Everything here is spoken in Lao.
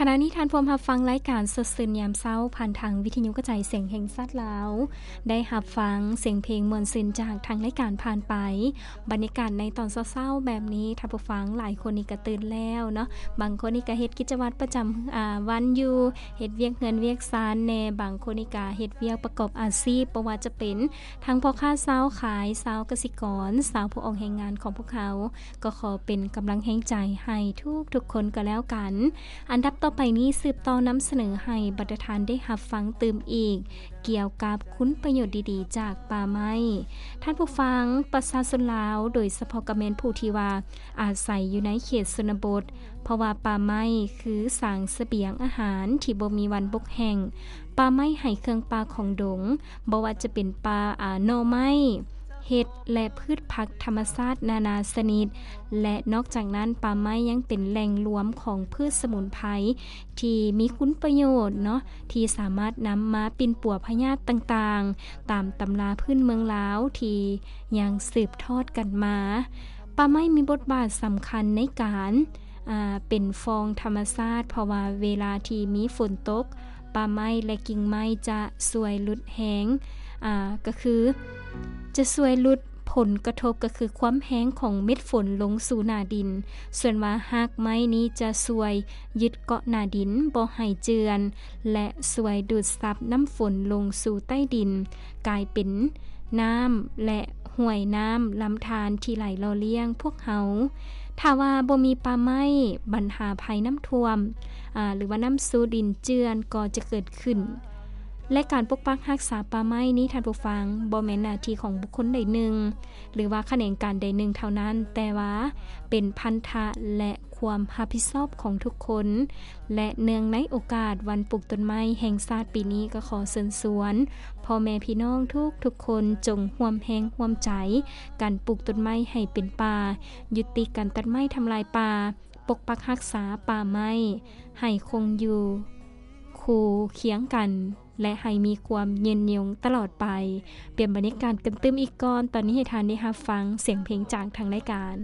ຂະນະນີ້ທ່ານພວມຮັບຟັງລາຍການສົດຊື່ນຍາມເຊົ້າ ຜ່ານທາງວິທະຍຸກະຈາຍສຽງແຫ່ງຊາດລາວ. ໄດ້ຮັບຟັງສຽງເພງມ່ວນຊື່ນຈາກທາງລາຍການຜ່ານໄປ. ບັນຍາກາດໃນຕອນເຊົ້າໆແບບນີ້ ທ່ານຜູ້ຟັງຫຼາຍຄົນນີ້ກະຕື່ນແລ້ວເນາະ. ບາງຄົນນີ້ກະເຮັດກິດຈະວັດປະຈຳ ອາ ວັນຢູ່, ເຮັດວຽກເຮືອນວຽກຊານແດ່, ບາງຄົນນີ້ກະເຮັດວຽກປະກອບອາຊີບ, ບໍ່ວ່າຈະເປັນທັງພໍ່ຄ້າຊາວຂາຍ, ຊາວກະສິກອນ, ຊາວຜູ້ອອກແຮງງານຂອງພວກເຮົາ. ກໍຂໍເປັນກຳລັງແຮງໃຈໃຫ້ທຸກໆຄົນກໍແລ້ວກັນ. ອັນດັບຕໍ່ໄປນີ້ ສືບຕໍ່ນຳສະເໜີໃຫ້ບັນດາທ່ານໄດ້ຮັບຟັງຕື່ມອີກ ກ່ຽວກັບຄຸນປະໂຫຍດດີໆຈາກປ່າໄມ້. ທ່ານຜູ້ຟັງ, ປະຊາຊົນລາວ, ໂດຍສະເພາະກໍແມ່ນຜູ້ທີ່ວ່າອາໄສຢູ່ໃນເຂດຊົນນະບົດ, ເພາະວ່າປ່າໄມ້ຄືສາງສະບຽງອາຫານທີ່ບໍ່ມີວັນບົກແຫ້ງ. ປ່າໄມ້ໃຫ້ເຄື່ອງປ່າຂອງດົງ, ບໍ່ວ່າຈະເປັນປ່າ ອາ ໜໍ່ໄມ້, ເຫັດ ແລະ ພືດຜັກທຳມະຊາດນານາຊະນິດ ແລະ ນອກຈາກນັ້ນ ປ່າໄມ້ຍັງເປັນແຫຼ່ງລວມຂອງພືດສະໝຸນໄພທີ່ມີຄຸນປະໂຫຍດເນາະ, ທີ່ສາມາດນຳມາປິ່ນປົວພະຍາດຕ່າງໆ ຕາມຕຳລາພື້ນເມືອງລາວທີ່ຍັງສືບທອດກັນມາ. ປ່າໄມ້ມີບົດບາດສຳຄັນໃນການ ອາ ເປັນຟອງທຳມະຊາດ, ເພາະວ່າເວລາທີ່ມີຝົນຕົກ, ປ່າໄມ້ ແລະ ກິ່ງໄມ້ຈະຊ່ວຍຫຼຸດແຮງ ອາ ກໍຄືຈະຊ່ວຍຫຼຸດຜົນກະທົບ ກໍຄືຄວາມແຮງຂອງເມັດຝົນລົງສູ່ໜ້າດິນ. ສ່ວນວ່າຮາກໄມ້ນີ້ຈະຊ່ວຍຍຶດເກາະໜ້າດິນບໍ່ໃຫ້ເຈື່ອນ ແລະ ຊ່ວຍດູດຊັບນ້ຳຝົນລົງສູ່ໃຕ້ດິນ, ກາຍເປັນນ້ຳ ແລະ ຫ້ວຍນ້ຳລຳທານທີ່ໄຫຼຫຼໍ່ລ້ຽງພວກເຮົາ. ຖ້າວ່າບໍ່ມີປ່າໄມ້, ບັນຫາໄພນ້ຳຖ້ວມ ອາ ຫຼືວ່ານ້ຳສູ່ດິນເຈື່ອນກໍຈະເກີດຂຶ້ນ. ແລະ ການປົກປັກຮັກສາປ່າໄມ້ນີ້, ທ່ານຜູ້ຟັງ, ບໍ່ແມ່ນໜ້າທີ່ຂອງບຸກຄົນໃດໜຶ່ງ ຫຼືວ່າຂະແໜງການໃດໜຶ່ງເທົ່ານັ້ນ, ແຕ່ວ່າເປັນພັນທະ ແລະ ຄວາມຮັບຜິດຊອບຂອງທຸກຄົນ. ແລະ ເນື່ອງໃນໂອກາດວັນປູກຕົ້ນໄມ້ແຫ່ງຊາດປີນີ້, ກໍຂໍເຊີນຊວນພໍ່ແມ່ພີ່ນ້ອງທຸກໆຄົນ ຈົ່ງຮ່ວມແຮງຮ່ວມໃຈກັນປູກຕົ້ນໄມ້ໃຫ້ເປັນປ່າ, ຍຸຕິການຕັດໄມ້ທຳລາຍປ່າ, ປົກປັກຮັກສາປ່າໄມ້ໃຫ້ຄົງຢູ່ຄູ່ຄຽງກັນ ແລະ ໃຫ້ມີຄວາມຍືນຍົງຕະຫຼອດໄປ. ປ່ຽນບັນຍາກາດກັນຕື່ມອີກກ່ອນ, ຕອນນີ້ໃຫ້ທ່ານໄດ້ຮັບຟັງສຽງເພງຈາກທາງລາຍການ.